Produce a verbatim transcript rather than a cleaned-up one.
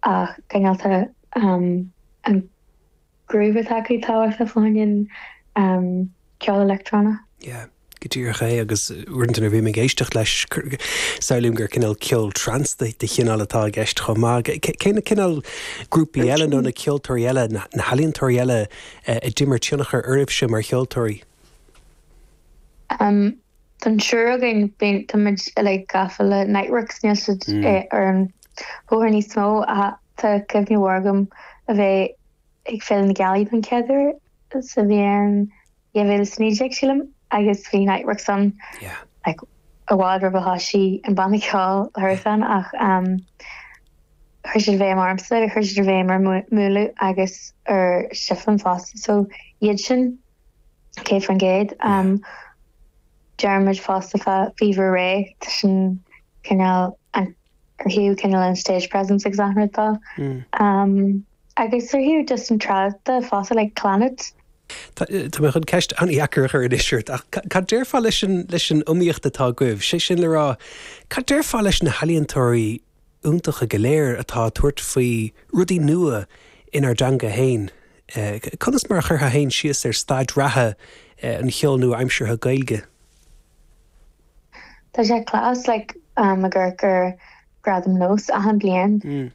Ach cineál um, an groove atá acu tábhachtach fá choinne um, ceol leictreonach. Yeah. Go díreach é agus uaireanta bhí ag éisteacht leis samhlaím gur cineál ceol trance de chineál atá i gceist chomh maith. Cé na cineál grúpaí eile nó na ceoltóirí eile na healaíontóirí eile a d'imir tionchar oraibhse mar cheoltóirí? Um, Don triúr againn táimid like gafa le Niteworks níl siad mm. eh, ar an bhóthar níos mó a tá cuimhne mhór agam a bheith ag Féile na Gealaí don chéad uair sa bhliain dhá mhíle is naoi déag sílim agus bhí Niteworks an like, i bhfad roimh a thosaigh an banna ceoil Hurricane ach um, chuir siad béim ormsa chuir siad béim ar Múnlú agus ar Siflin fosta so iad sin céad faoin gcéad um, deirimid fosta fá Fever Ray sin cineál an ar thaobh cineál an stage presence agus tá mm. um, agus ar thaobh just an trad fosta like Clannad Tá mé chun ceist an-dheacair a chur anois ach cad déarfá leis an leis an iomaíocht atá agaibh, sé sin le rá cad déarfá leis na healaíontóirí iontacha go léir atá tabhairt faoi rudaí nua inár dteanga féin. Eh, conas mar a chuirfeá féin síos ar staid reatha eh, an cheoil nua-aimseartha Gaeilge. Tá sé class like um, gur gur gradam NÓS achan bliain mm.